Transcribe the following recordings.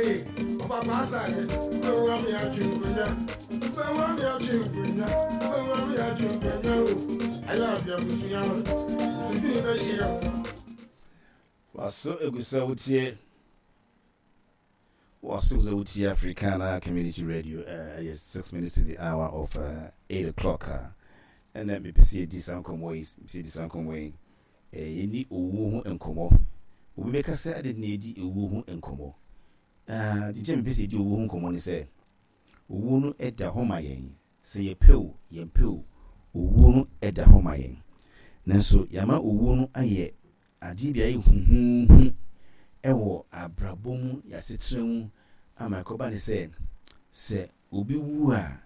Ei, ɔpapa asare, wobɛwu ame atwe nkonya, wobɛwu ame atwe nkonya, wobɛwu ame atwe nkonya o. Ayɛ ade abusua no, mfidie bɛyɛ o. Waso egu sɛ wotie Waso egu sɛ wotie Africana Community Radio ɛyɛ 6 minutes to the hour of 8 o'clock a ɛnɛ mepɛ sɛ yɛdi saa nkɔmmɔ yi, mepɛ sɛ yɛdi saa nkɔmmɔ yi. Yɛnni owuo ho nkɔmmɔ. Obi bɛka sɛ adɛn na yɛdi owuo ho nkɔmmɔ? Deɛ nti a mepɛ sɛ yɛdi owuo ho nkɔmmɔ ne sɛ owuo no da hɔ ma yɛn. Sɛ yɛpɛ o, yɛmpɛ o, owuo no da hɔ ma yɛn. Nanso yɛama owuo no ayɛ adeɛ bi a ɛyɛ huhuuhu wɔ abrabɔ mu, yɛn asetena mu ama ɛkɔba ne sɛ, sɛ obi wu a,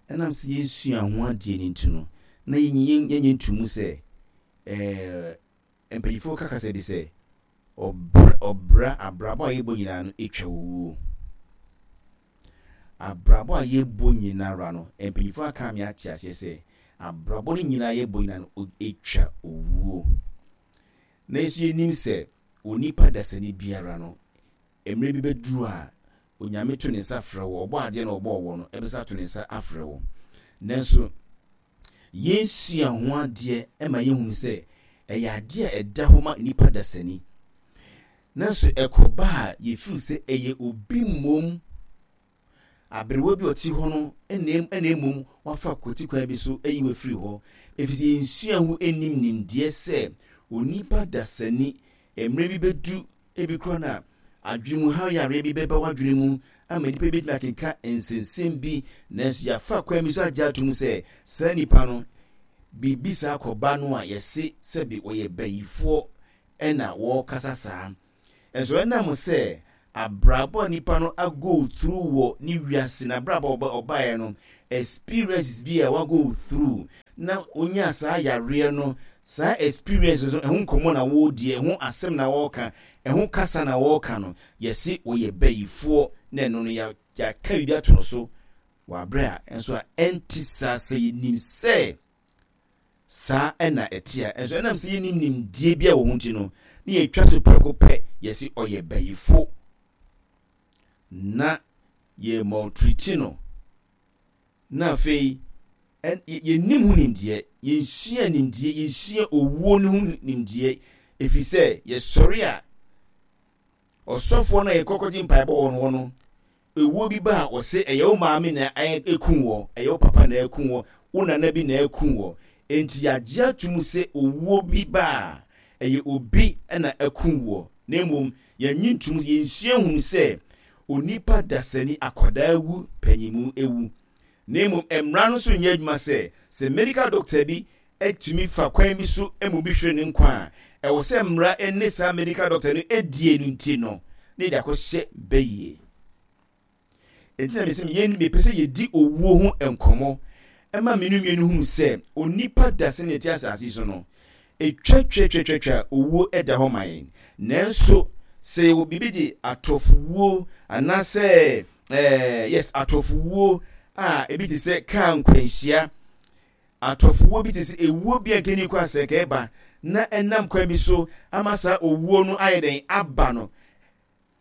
ɛnam sɛ yɛnsua ho adeɛ no nti no, na yɛnyɛ ntomu sɛ ɛɛ mpanyinfoɔ ka kasa bi sɛ ɔbra ɔbra abrabɔ a yɛbɔ nyinaa no atwa owuo. Abrabɔ a yɛbɔ nyinara no, mpanyinfoɔ aka me ate aseɛ sɛ abrabɔ no nyinaa yɛbɔ nyinaa no atwa owuo. Na nso yɛnim sɛ onipa dasani biara no, mmerɛ bi bɛduru a Onyame to ne nsa frɛ wo, ɔbɔ adeɛ na ɔbɔɔ wɔ no, ɛbɛsa ato ne nsa afrɛ wo. Nanso yɛnsua ho adeɛ ma yɛhunu sɛ ɛyɛ adeɛ a ɛda hɔ ma nipa dasani. Nanso ɛkɔba a yɛfeel sɛ ɛyɛ obi mmom, aberewa bi a ɔte hɔ no na mmom wafa kwati kwan bi so ayi wafiri hɔ. Ɛfiri sɛ yɛnsua ho nnim nimdeɛ sɛ onipa dasani mmerɛ bi bɛdu ebi koraa na adwene mu haw yareɛ bi bɛba w'adwene mu ama nipa bi bɛtumi akenka nsensɛm bi, nanso yɛafa kwan bi so agye atom sɛ saa nipa no biribi saa kɔba no a yɛse sɛbe wɔyɛ bayifoɔ ɛna wɔrekasa saa. Nso ɛnam sɛ abrabɔ a nipa no a go through wɔ ne wiase n'abrabɔ a ɔbaeɛ no, experiences bi a wa go through na onyaa saa yareɛ no, saa experiences no ɛho nkɔmmɔ na wɔredi, ɛho asɛm na wɔreka, ɛho kasa na wɔreka no, yɛse wɔyɛ bayifoɔ na ɛno no yɛaka biribi ato no so wɔ aberɛ a nso a ɛnte saa. Sɛ yɛnim sɛ saa na ɛte a, nso ɛnam sɛ yɛnnim nimdeɛ bi a wɔ ho nti no, na yɛtwa so prɛko pɛ yɛse ɔyɛ bayifo na yɛ maltreat no, na afei yɛnnim ho nimdeɛ, yɛnsua nimdeɛ, yɛnsua owuo no ho nimdeɛ, ɛfiri sɛ yɛsɔre a ɔsɔfoɔ no a yɛkɔkɔgye mpaebɔ wɔ no hɔ no, ewuo bi ba a ɔse ɛyɛ wo maame na ɛku wɔ, ɛyɛ wo papa na ɛku wɔ, wo nana bi na ɛku wɔ. Enti yɛagye ato mu sɛ owuo bi ba a ɛyɛ obi na ɛku wɔ, na mmom yɛnnye ntom, yɛnsua nhunu sɛ onipa dasani akwadaa wu, panyinmu wu. Na mmom mmara no nso nyɛ adwuma sɛ sɛ medical doctor bi tumi fa kwan bi so ma obi hwere ne nkwa a, ɛwɔ sɛ mmara ne saa medical doctor no die no nti no, na yɛde akɔhyɛ bayie. Enti na mesɛ yɛn mepɛ sɛ yɛdi owuo ho nkɔmmɔ ɛma mmienu mmienu hunu sɛ onipa da sɛnea ɛte asase so no, ɛtwatwatwatwa owuo da hɔ ma yɛn. Nanso sɛ yɛwɔ biribi de atɔfowuo anaasɛ yes, atɔfowuo a ebi te sɛ kaa nkwanhyia, atɔfowuo bi te sɛ ewuo bi a nka nni kwan sɛ nka ɛba na ɛnam kwan bi so ama saa owuo no ayɛ dɛn aba no,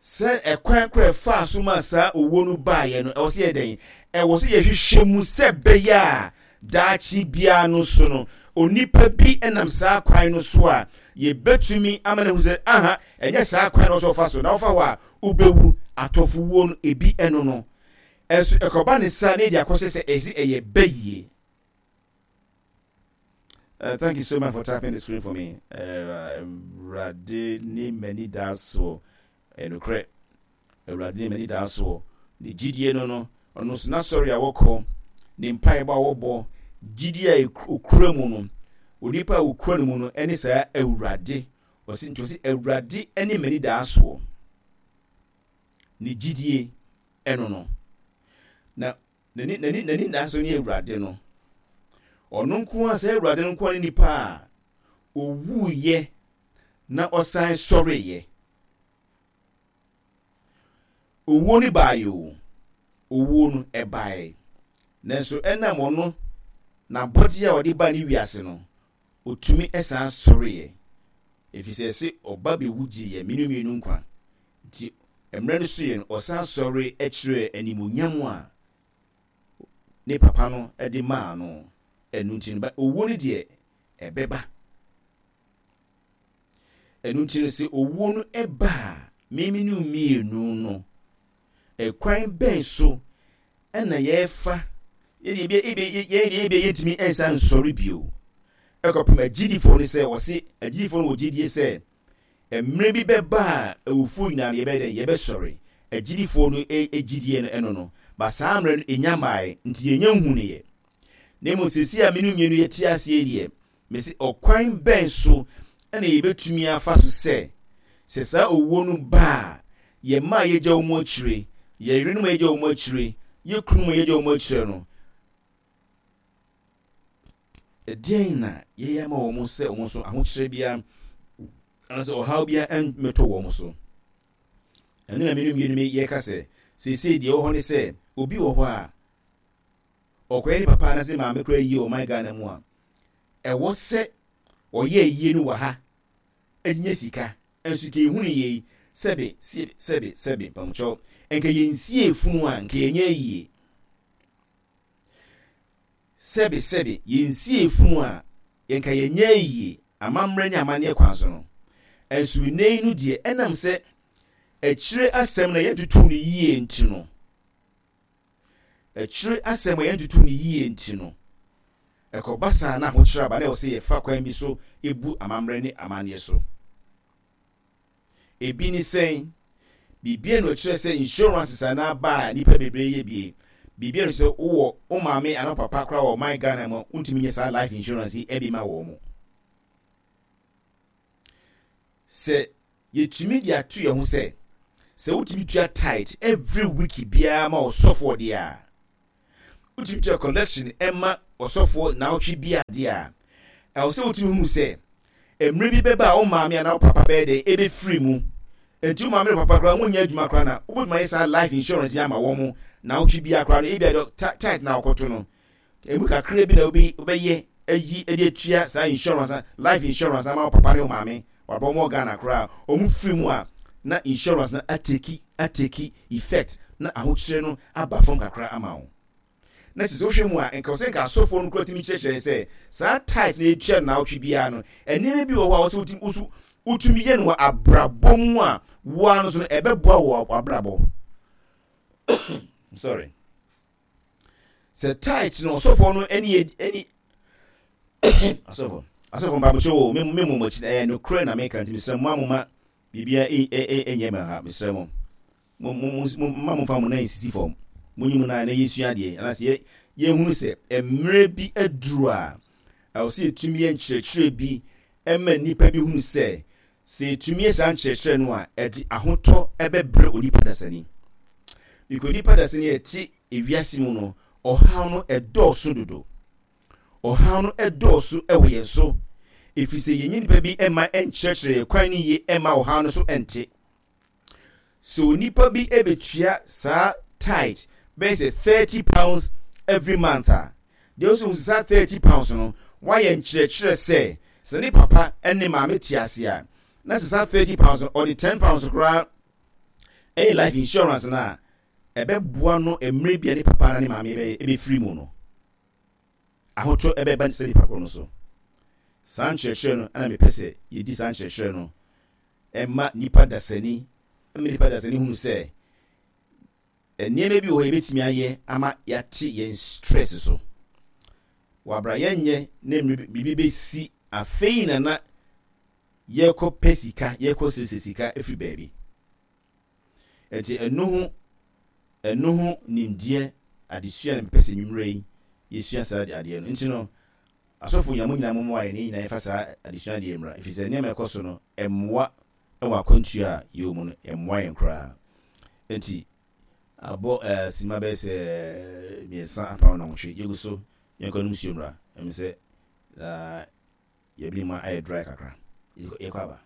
sɛ ɛkwan koro a ɛfaa so maa saa owuo no baeɛ no, ɛwɔ sɛ yɛ dɛn? Ɛwɔ sɛ yɛhwehwɛ mu sɛ ɛbɛyɛ a daakye biara no so no, onipa bi nam saa kwan no so a, yɛbɛtumi ama no ahu sɛ, aha, ɛnyɛ saa kwan no sɛ ɔfa so, na wofa hɔ a, wobɛwu. Atɔfowuo no, ebi ɛno no. Ɛnso ɛkɔba ne saa na yɛde akɔhyɛ sɛ ɛsi ɛyɛ bɛyie. Thank you so much for tapping the screen for me. Awurade ne m'ani daa soɔ. Ɛnokorɛ, Awurade ne m'ani daa soɔ. Ne gyidie no, ɔno nso n'asɔre a wɔkɔ, ne mpaebɔ a wɔbɔ, gyidie a okura mu no, onipa a okura no mu no, ɛne saa Awurade. Ɔsi nti ɔsi Awurade ne m'ani daa soɔ. Ne gyidie ɛno no. Na n'ani da so ne Awurade no. Ɔno nko ara, sɛ Awurade no nko ara ne nipa a owuiɛ na ɔsan sɔreeɛ. Owuo no baeɛ o, owuo no ɛbaeɛ. Nanso ɛnam ɔno n'abɔdeɛ a ɔde baa ne wiase no, ɔtumi san sɔreeɛ. Ɛfiri sɛ ɛse ɔba bɛwu gyee yɛn mmienu mmienu nkwa. Nti. Mmerɛ no soeɛ no, ɔsan sɔre kyerɛɛ animuonyam a ne papa no de maa no. Ɛno nti no, owuo no deɛ, ɛbɛba. Ɛno nti no, sɛ owuo no ba a, me me ne wo mmienu no, ɛkwan bɛn so na yɛfa yɛn deɛ ebia yɛntumi nsan nsɔre bio ɛkɔpem agyidifoɔ no sɛ wɔse agyidifoɔ no wɔ gyidie sɛ mmerɛ bi bɛba a awufoɔ nyinaa no yɛbɛyɛ dɛn yɛbɛsɔre agyidifoɔ no gyidie no ɛno no ba saa mmerɛ no ɛnya mmaeɛ nti yɛnya nhunuiɛ na mmom seesei a me no mmienu yɛte aseɛ deɛ Mese, ɔkwan bɛn so na yɛbɛtumi afa so sɛ, sɛ saa owuo no ba a, yɛn mma a yɛagya wɔn akyire, yɛn yerenom a yɛagya wɔn akyire, yɛn kununom a yɛagya wɔn akyire no, ɛdeɛn na yɛyɛ ama wɔn sɛ wɔn nso ahokyerɛ biara anaasɛ ɔhaw biara mmɛtɔ wɔn so? Ɛno na mene mmienu yɛka sɛ, seesei deɛ ɛwɔ hɔ ne sɛ, obi wɔ hɔ a, ɔkɔyɛ ne papa anaasɛ ne maame koraa yie wɔ ɔman Ghana mu a, ɛwɔ sɛ ɔyɛ ayie no wɔ ha nya sika. Nso nka yɛhunu yei, sɛbe, sɛbe, sɛbe, mpamokyɛw, nka yɛnsiee funu a, nka yɛnyɛ ayie. Sɛbe, sɛbe, yɛnsiee funu a, nka yɛnyɛ ayie, amammerɛ ne amanneɛ kwan so no. Nso nnɛ yi no deɛ, ɛnam sɛ akyire asɛm na yɛntutuu no yie nti no, Akyire asɛm a yɛantutu no yie nti no, ɛkɔba saa na ahokyerɛ aba na ɛwɔ sɛ yɛfa kwan bi so bu amammerɛ ne amanneɛ so. Ebi ne sɛn? Biribi a na ɔkyerɛ sɛ insurances anaa ba a nnipa bebree yɛ bie. Biribi a na sɛ wowɔ wo maame anaa wo papa koraa wɔ ɔman Ghana mu a, wontumi nyɛ saa life insurance yi bi ma wɔn. Sɛ Yɛtumi de ato yɛn ho sɛ, sɛ wotumi tua tithe every week biara ma ɔsɔfoɔ deɛ a, wotumi tua collection ma ɔsɔfoɔ naawɔtwe biara deɛ a, ɛwɔ sɛ wotumi hunu sɛ mmerɛ bi bɛba a wo maame anaa wo papa bɛyɛ dɛn ɛbɛfiri mu. Nti wo maame ne papa koraa wɔnyɛ adwuma koraa na wobɛtumi ayɛ saa life insurance yi ama wɔn naawɔtwe biara koraa no, ebia deɛ tithe na wɔkɔto no, Emu kakraa bi na wobɛyɛ ayi de atua saa insurance, life insurance ama wo papa ne wo maame. Wabɔ wɔn wɔ Ghana koraa. Wɔn firi mu a, na insurance no ateki ateki effect na ahokyere no aba fam kakra ama wo. Na kyerɛ sɛ wohwɛ mu a, nka sɛ nka asɔfoɔ no koraa tumi kyerɛkyerɛ sɛ saa tithe na yɛtua no naawɔtwe biara no, nneɛma bi wɔ hɔ a wɔsɛ wotumi woso wotumi yɛ no wɔ abrabɔ mu a woa no so no ɛbɛboa wɔ abrabɔ. Sorry. Sɛ tithe no ɔsɔfoɔ no ɛne yɛ ɛne asɔfoɔ asɔfoɔ mpabokyɛ o me me mo akyi ɛyɛ nokorɛ na meka nti mesrɛ mo a mo ma biribia ɛnyɛ me ha mesrɛ mo mo mo mo ma mo fa mo nan nsisi fam mo nyi mo nan na yɛsua adeɛ anaasɛ yɛ yɛhunu sɛ mmerɛ bi aduru a ɛwɔ sɛ yɛtumi yɛ nkyerɛkyerɛ bi ɛma nnipa bi hunu sɛ Sɛ yɛtumi yɛ saa nkyerɛkyerɛ no a, ɛde ahotɔ bɛbrɛ onipa dasani. Because onipa dasani a ɛte ewiase mu no, ɔhaw no ɛdɔɔso dodo. Ɔhaw no ɛdɔɔso wɔ yɛn so. Ɛfiri sɛ yɛnyɛ nipa bi mma ɛnkyerɛkyerɛ yɛn kwan no yie ɛmma ɔhaw no so ɛnte. Sɛ onipa bi bɛtua saa tithe bɛyɛ sɛ £30 every month a, deɛ ɔsɛ hu sɛ saa £30 no, wayɛ nkyerɛkyerɛ sɛ sɛ ne papa ne maame te ase a, na sɛ saa £30 no, ɔde £10 koraa ɛyɛ life insurance no a, ɛbɛboa no mmerɛ bi a ne papa na ne maame bɛfiri mu no. Ahotɔ bɛba saa nipa korɔ no so. Saa nkyerɛkyerɛ no na mepɛ sɛ yɛdi saa nkyerɛkyerɛ no ɛma nipa dasani ɛma nipa dasani hunu sɛ nneɛma bi wɔ hɔ yɛbɛtumi ayɛ ama yɛate yɛn stress so. Wabra yɛnyɛ na biribi bɛsi afei na na yɛkɔ pɛ sika yɛkɔ srɛsrɛ sika afiri baabi. Ɛnti ɛno ho ɛno ho nimdeɛ adesua na mepɛ sɛ nwummerɛ yi yɛsua saa adeɛ no. Nti no asɔfo nyinaa mo nyinaa mommoa yɛn na yɛn nyinaa yɛmfa saa adesua adeɛ mmra ɛfiri sɛ nneɛma ɛkɔ so no ɛmmoa wɔ akwantuo a yɛwɔ mu no ɛmmoa yɛn koraa. Nti abɔ ɛɛ sima bɛyɛ sɛ mmiɛnsa apam nnɔnwɔtwe yɛgu so yɛnkɔ nom nsuo mmra ɛm sɛ na yɛbene mu ayɛ dry kakra yɛkɔ aba.